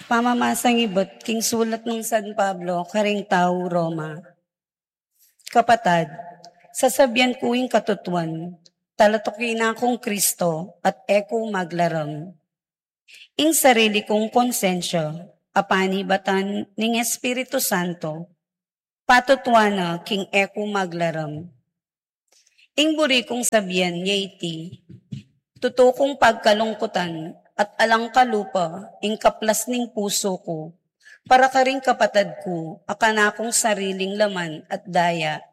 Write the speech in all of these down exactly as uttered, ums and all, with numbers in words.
Pamamasang ibat king sulat nang San Pablo karing tau Roma. Kapatad, sasabian ku ing katutuan, talatukin na kung Kristo at e ku maglaram. Ing sarili kung konsensya, apanibatan ning Espiritu Santo, patutuan na king e ku maglaram. Ing buri kung sabian ya iti, tutu kung pagkalungkutan at alang kalupa ing kaplas ning pusu ku, para karing kapatad ku, a kanakung sariling laman at daya.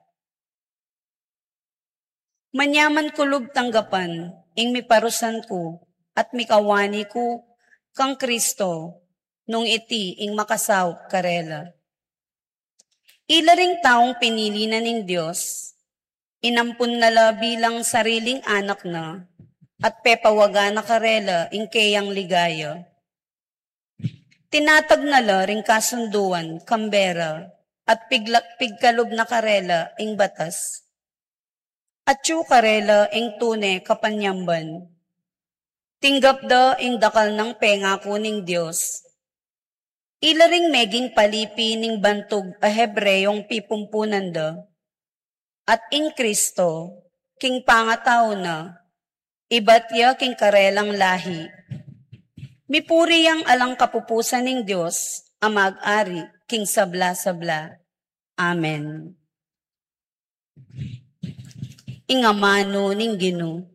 Manyaman ku lub tanggapan ing miparusan ku at mikawani ku kang Kristo, nung iti ing makasaup karela. Ila ring taung pinili na ning Dios, inampun na la bilang sariling anak na, at pepawagan na karela ing keyang ligaya. Tinatag na la ring kasunduan kang bera, at pigla-, pigkalub na karela ing batas. Atyu karela ing tune kapanyamban. Tinggap da ing dakal nang pengaku ning Dios. Ila ring meging palipi ning bantug a Hebreong pipumpunan da. At ing Kristo, king pangatau na, ibat ya king karelang lahi. Mipuri yang alang kapupusan ning Dios, a mag-ari king sabla-sabla. Amen. Ing amanu ning Ginu.